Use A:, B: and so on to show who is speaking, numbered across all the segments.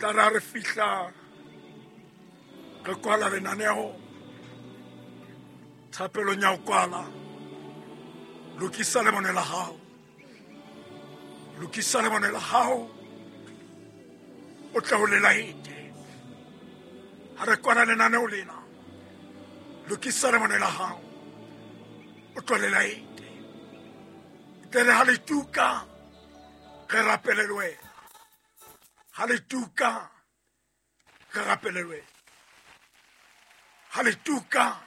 A: Tla ra re fihla re kwala lenaneo thapelong ya go kwala. Lokisa lebone la gago, lokisa lebone la gago, o tle o le laete. Ha re kwala lenaneo lena, lokisa lebone la gago, o tlo le laete. Tle re ha le tuka re rapele le wena, ha le tuka re rapele le wena, ha le tuka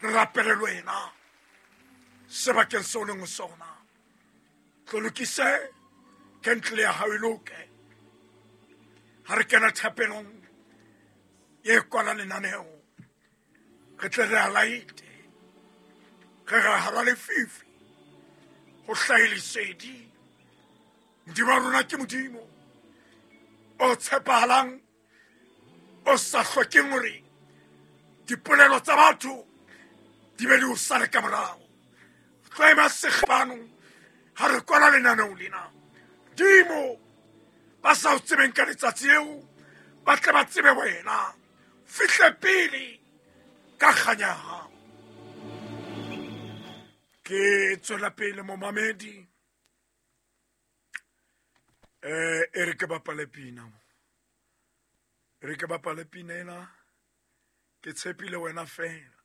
A: re rapele le wena sebakeng seo leng ho sona. Tlo lokise kentle ya hao e loke. Ha re kena thapelong ye kwala lenaneo, re tle re a laete, re re hara lefifi ho hlahe lesedi. Modimo wa rona ke Modimo o tshepahalang, o sa hlokeng hore dipolelo tsa batho di be di o sale ka morao. Tlo ema segepano ha re kwala lenaneo lena. Dimo ba sa o tsebeng ka letsatsi leo ba tle ba tsebe wena. Fihle pele ka kganya ya hao. Ke tswela pele momamedi. E re ke bapale pina mo. E re ke bapale pina ena. Ke tshepile wena fela.